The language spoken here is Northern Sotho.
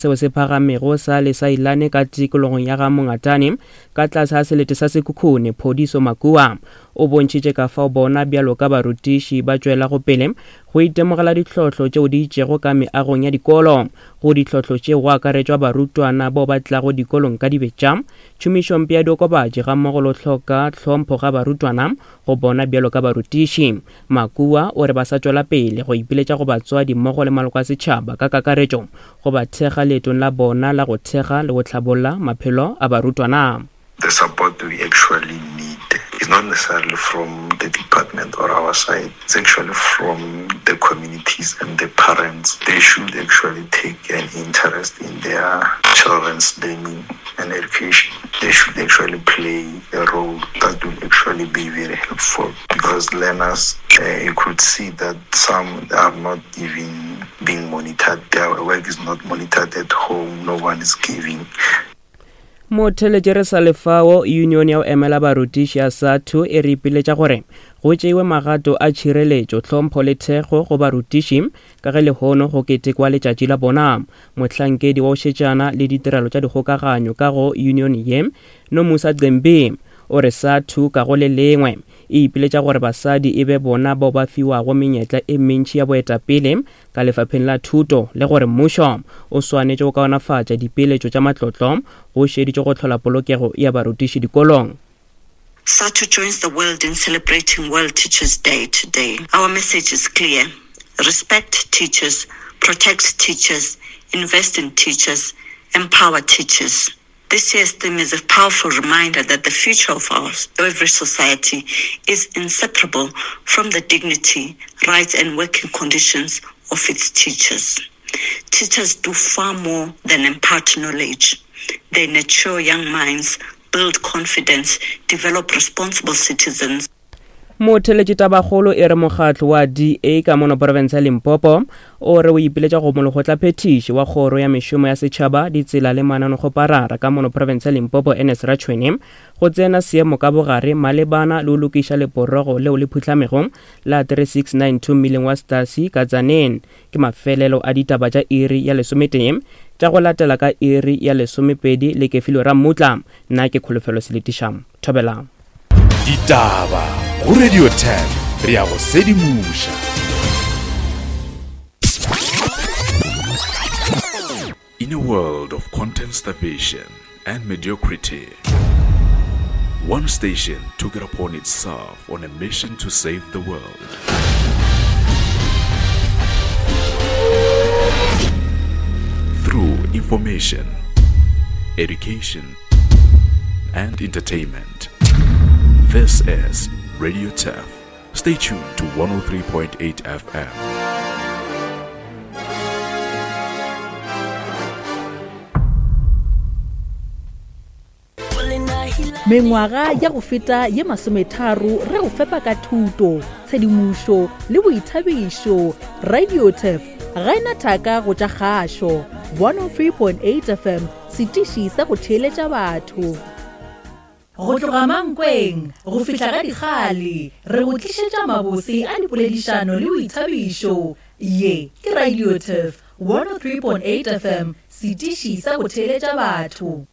Seo se phagamego sa Lesailane ka tikologong ya ga Mongatane ka tlase ga selete sa Sekhukhune, Phodiso Makua, o bontšhitše ka fao bona bjalo ka barutiši ba tšwelago pele go itemogela ditlhohlo tšeo di itšego ka meagong ya dikolo. Go ditlhohlo tšeo go akaretšwa barutwana bao ba tlago dikolong ka dibetša, tšhomišompe ya diokobatši gammogo le go hloka tlhompho ga barutwana go bona bjalo ka barutiši. Makua o re ba sa tšwela pele go ipiletša go batswadi mmogo le maloko a setšhaba ka kakaretšo go ba thekga leetong la bona la go thekga le go hlabolla maphelo a barutwana. The support we actually need is not necessarily from the department or our side, it's actually from the communities and the parents. They should actually take an interest in their children's learning and education. They should actually play a role that will actually be very helpful because learners, uh, you could see that some are not even being monitored. Their work is not monitored at home. No one is giving. Motheletše re sa lefao, Union ya go emela barutiši ya SADTU e re ipiletša gore go tšeiwe magato a tšhireletšo, tlhompho le thekgo go barutiši ka ge lehono go ketekwa letšatši la bona. Mohlankedi wa go šetšana le ditirelo tša dikgokaganyo ka go union ye, Nomusa Cembi, o re SADTU ka go le lengwe e ipiletša gore basadi e be bona bao ba fiwago menyetla e mentši ya boetapele ka lefapheng la thuto le gore mmušo o swanetše go kaonafatša dipeeletšo tša matlotlo go šeditšwe go hlola polokego ya barutiši dikolong. SADTU joins the world in celebrating World Teachers Day today. Our message is clear. Respect teachers, protect teachers, invest in teachers, empower teachers. This year's theme is a powerful reminder that the future of our every society is inseparable from the dignity, rights and working conditions of its teachers. Teachers do far more than impart knowledge. They nurture young minds, build confidence, develop responsible citizens. Motheletši tabakgolo e re mokgatlo wa DA ka mono profense ya Limpopo o re o ipiletša go molekgotlaphethiši wa kgoro ya mešomo ya setšhaba, ditsela le mananekgoparara ka mono profense ya Limpopo Ernest Ratšhwene go tsena seemo ka bogare malebana le go lokiša leporogo leo le phuhlamego la 3692 mmileng wa Stasi ka Tzaneen. Ke mafelelo a ditaba tša iri ya lesometee tša go latela ka iri ya lesomepedi le Kefilwe Rammutla. Nna ke Kholofelo Seletiša. Thobela. Ditaba go Radio 10 re ya go sedimoša. In a world of content starvation and mediocrity, one station took it upon itself on a mission to save the world. Through information, education, and entertainment. This is Radio Turf. Stay tuned to 103.8 FM. Mengwaga ya go feta ye masometharo re go fepa ka thuto, tshedimošo le boithabišo. Radiotef ga e na thaka go tša kgašo. 103.8 FM, setiši sa go theeletša batho. Go tloga Mankweng go fihla ga Dikgale, re go tlišetša mabose a dipoledišano le boithabišo. Ye ke Radiotef 103.8 FM, setiši sa go theeletša batho.